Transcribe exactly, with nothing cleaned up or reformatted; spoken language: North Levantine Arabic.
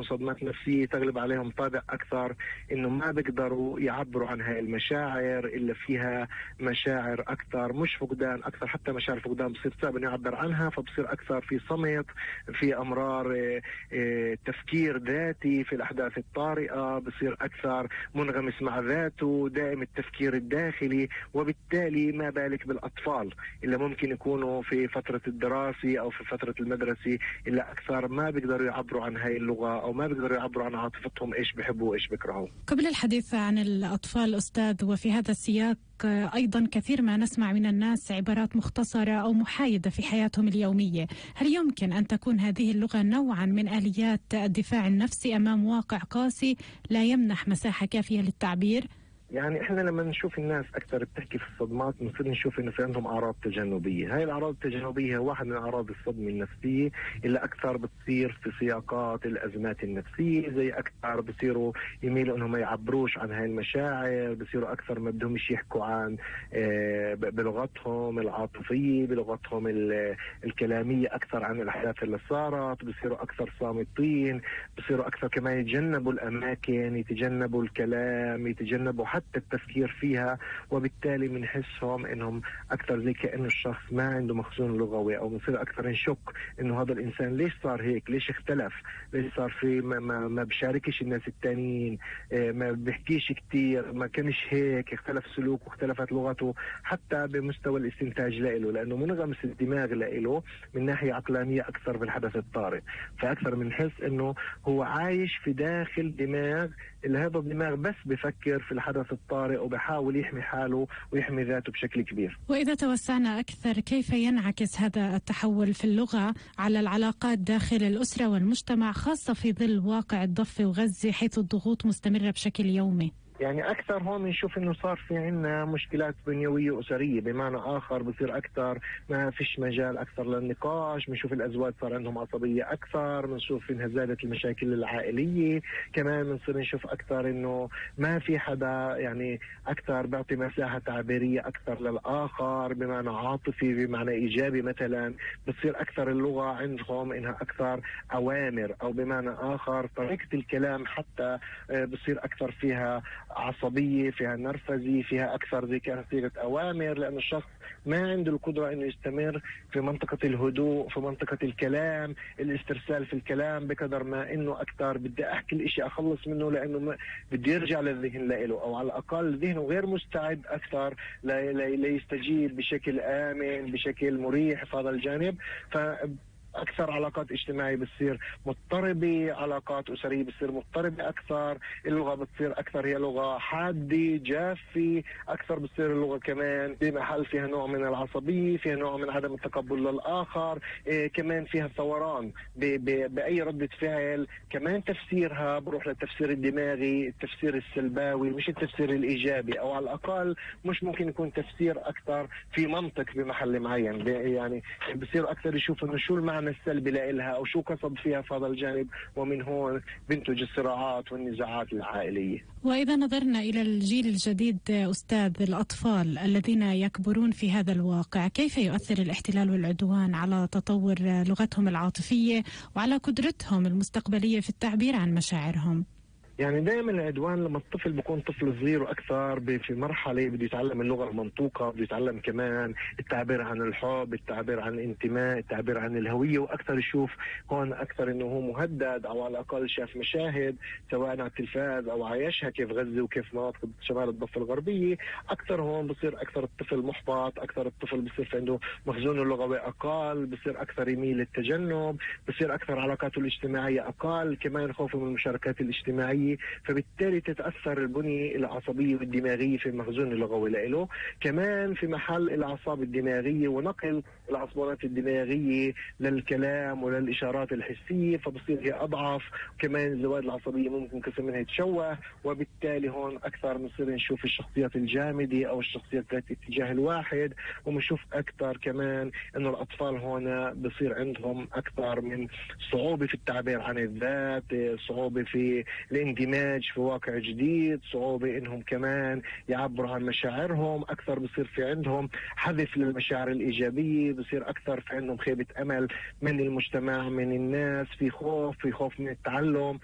صدمات نفسية تغلب عليهم طابع أكثر إنه ما بيقدروا يعبروا عن هاي المشاعر إلا فيها مشاعر أكثر، مش فقدان أكثر، حتى مشاعر فقدان بصير صعب إنه يعبر عنها، فبصير أكثر في صمت، في أمرار اه اه تفكير ذاتي في الأحداث الطارئة، بصير أكثر منغمس مع ذاته، دائم التفكير الداخلي. وبالتالي ما بالك بالأطفال اللي ممكن يكونوا في فترة الدراسة أو في فترة المدرسة إلا أكثر ما بيقدروا يعبروا عن هاي اللغة أو ما بيقدروا يعبروا عن عاطفتهم إيش بيحبوا وإيش بيكرهوا. قبل الحديث عن الأطفال أستاذ، وفي هذا السياق أيضا كثير ما نسمع من الناس عبارات مختصرة أو محايدة في حياتهم اليومية، هل يمكن أن تكون هذه اللغة نوعا من آليات الدفاع النفسي أمام واقع قاسي لا يمنح مساحة كافية للتعبير؟ يعني احنا لما نشوف الناس اكثر بتحكي في الصدمات بنصير نشوف انه في عندهم اعراض تجنبيه، هاي الاعراض التجنبيه واحد من اعراض الصدمه النفسيه اللي اكثر بتصير في سياقات الازمات النفسيه، زي اكثر بصيروا يميلوا انهم ما يعبروش عن هاي المشاعر، بصيروا اكثر ما بدهمش يحكوا عن اه بلغتهم العاطفيه، بلغتهم الكلاميه اكثر عن الاحداث اللي صارت، بصيروا اكثر صامتين، بصيروا اكثر كمان يتجنبوا الاماكن، يتجنبوا الكلام، يتجنبوا حتى التفكير فيها. وبالتالي بنحسهم انهم اكثر زي كانه الشخص ما عنده مخزون لغوي، او بنصير اكثر نشك انه هذا الانسان ليش صار هيك، ليش اختلف، ليش صار في ما, ما, ما بشاركش الناس التانيين، ما بيحكيش كتير، ما كانش هيك، اختلف سلوكه، اختلفت لغته، حتى بمستوى الاستنتاج لإله، لانه منغمس الدماغ لإله من ناحيه عقلانيه اكثر بالحدث الطارئ، فاكثر بنحس انه هو عايش في داخل دماغ اللي هذا الدماغ بس بفكر في الحدث الطارئ وبحاول يحمي حاله ويحمي ذاته بشكل كبير. وإذا توسعنا أكثر، كيف ينعكس هذا التحول في اللغة على العلاقات داخل الأسرة والمجتمع، خاصة في ظل واقع الضفة وغزة حيث الضغوط مستمرة بشكل يومي؟ يعني أكثر هون بنشوف إنه صار في عنا مشكلات بنيوية أسرية، بمعنى آخر بصير أكثر ما فيش مجال أكثر للنقاش، بنشوف الأزواج صار عندهم عصبية أكثر، بنشوف إنها زادت المشاكل العائلية، كمان بنصير نشوف أكثر إنه ما في حدا يعني أكثر بيعطي مساحة تعبيرية أكثر للآخر بمعنى عاطفي بمعنى إيجابي مثلا، بتصير أكثر اللغة عندهم إنها أكثر أوامر، أو بمعنى آخر طريقة الكلام حتى بصير أكثر فيها عصبية، فيها نرفزي، فيها أكثر زي كانت صيغة أوامر، لأن الشخص ما عنده القدرة إنه يستمر في منطقة الهدوء، في منطقة الكلام، الاسترسال في الكلام، بقدر ما إنه أكثر بدي أحكي الإشي أخلص منه لأنه بدي يرجع للذهن لإله، أو على الأقل ذهنه غير مستعد أكثر ليستجيب بشكل آمن بشكل مريح في هذا الجانب. ف أكثر علاقات اجتماعية بتصير مضطربة، علاقات أسرية بتصير مضطربة أكثر، اللغة بتصير أكثر هي لغة حادة جافة أكثر، بتصير اللغة كمان بمحل فيها نوع من العصبية، فيها نوع من عدم التقبل للآخر، إيه كمان فيها ثوران بأي ردة فعل، كمان تفسيرها بروح للتفسير الدماغي، التفسير السلباوي مش التفسير الإيجابي، أو على الأقل مش ممكن يكون تفسير أكثر في منطق بمحل معين، يعني بصير أكثر يشوف إنه شو المعنى السلبي لإلها أو شو قصد فيها في هذا الجانب، ومن هون بنتج الصراعات والنزاعات العائلية. وإذا نظرنا إلى الجيل الجديد أستاذ، الأطفال الذين يكبرون في هذا الواقع، كيف يؤثر الاحتلال والعدوان على تطور لغتهم العاطفية وعلى قدرتهم المستقبلية في التعبير عن مشاعرهم؟ يعني دائما العدوان لما الطفل بيكون طفل صغير واكثر في مرحله بده يتعلم اللغه المنطوقه، بده يتعلم كمان التعبير عن الحب، التعبير عن الانتماء، التعبير عن الهويه، واكثر يشوف هون اكثر انه هو مهدد، او على الاقل شاف مشاهد سواء على التلفاز او عايشها كيف غزه وكيف مناطق شمال الضفه الغربيه، اكثر هون بصير اكثر الطفل محبط، اكثر الطفل بصير عنده مخزونه اللغوي اقل، بصير اكثر يميل للتجنب، بصير اكثر علاقاته الاجتماعيه اقل، كمان خوفه من المشاركات الاجتماعيه، فبالتالي تتأثر البنية العصبية والدماغية في المخزون اللغوي له، كمان في محل الأعصاب الدماغية ونقل العصبونات الدماغية للكلام وللإشارات الحسية، فبصير هي أضعف، كمان الزوائد العصبية ممكن قسم منها يتشوه، وبالتالي هون أكثر بنصير نشوف الشخصيات الجامدة أو الشخصيات ذات الاتجاه الواحد، وبنشوف أكثر كمان إنه الأطفال هون بصير عندهم أكثر من صعوبة في التعبير عن الذات، صعوبة في الاندماج في واقع جديد، صعوبة إنهم كمان يعبروا عن مشاعرهم، أكثر بصير في عندهم حذف للمشاعر الإيجابية، بصير أكثر في عندهم خيبة أمل من المجتمع، من الناس، في خوف في خوف من التعلم،